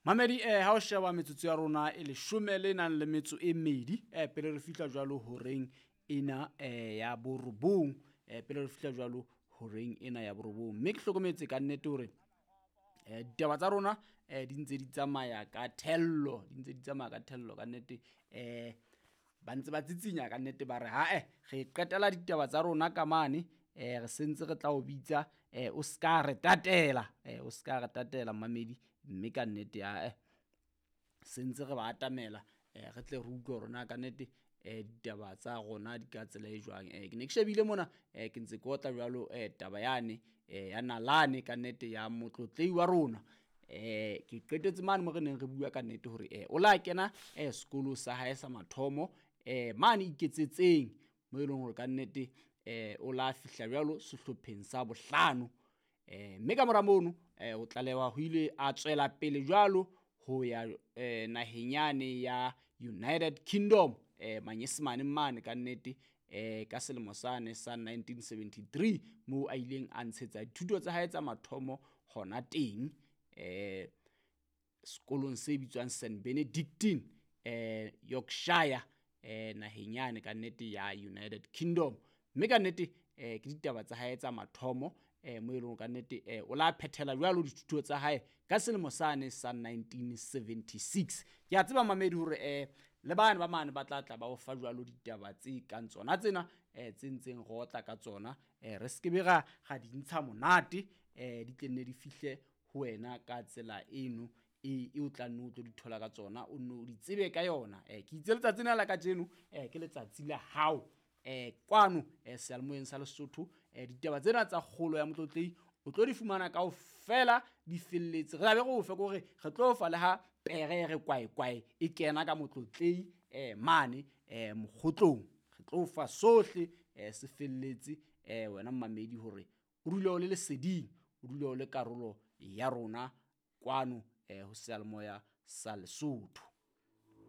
Mamedi ha o sheba metsotso ya rona e leshome le nang le metso e mmedi pele re fihla jwalo horeng ena ya borobong, pele re fihla jwalo horeng ena ya borobong, mme ke hlokometse ka nnete hore ditaba tsa rona di ntse di tsamaya ka thello, di ntse di tsamaya ka thello ka nnete. Ba ntse ba tsitsinya ka nnete, ba re hae re qetela ditaba tsa rona ka mane, re sentse re tla o bitsa, o ska re tatela, o ska re tatela mamedi, mme ka nnete ae sentse re ba atamela, re tle re utlwe hore na ka nnete ditaba tsa rona di ka tsela e jwang. Ke ne ke shebile mona, ke ntse ke otla jwalo taba yane ya nalane ka nnete ya motlotlei wa rona. Ke qetetse mane mo re neng re bua ka nnete hore o la kena sekolo sa hae sa mathomo mane Iketsetseng, mo e leng hore ka nnete o la fihla jwalo sehlopheng sa bohlano. Mme ka mora mono o tlalewa ho ile a tswela pele jwalo ho ya naheng yane ya United Kingdom, manyesemane mane ka nnete, ka selemo sane sa 1973 moo a ileng a ntshetsa dithuto tsa hae tsa mathomo hona teng, sekolong se bitswang St Benedictine, Yorkshire, naheng yane ka nnete ya United Kingdom. Mme ka nnete ke ditaba tsa hae tsa mathomo, mo e leng ka nnete o la phethela jwalo dithuto tsa hae ka selemo sane sa 1976. Ke a tseba mamedi hore le bane ba mane ba tla tla ba o fa jwalo ditaba tse kang tsona tsena, tse ntseng re otla ka tsona, re skebe ra di ntsha monate, di tle nne di fihle ho wena ka tsela eno e o tla nne o tlo di thola ka tsona, o nno o di tsebe ka yona. Ke itse letsatsi lena la kajeno ke letsatsi la hao kwano seyalemoyeng sa Lesotho. Ditaba tsena tsa kgolo ya motlotlei o tlo di fumana kaofela di felletse. Re tla be re o fe kore re tlo fa le ha pere re kwae kwae e kena ka motlotlei mane mokgotlong. Re tlo fa sohle se felletse, wena mmamedi hore o dule o le leseding, o dule o le karolo ya rona kwano ho seyalemoya sa Lesotho.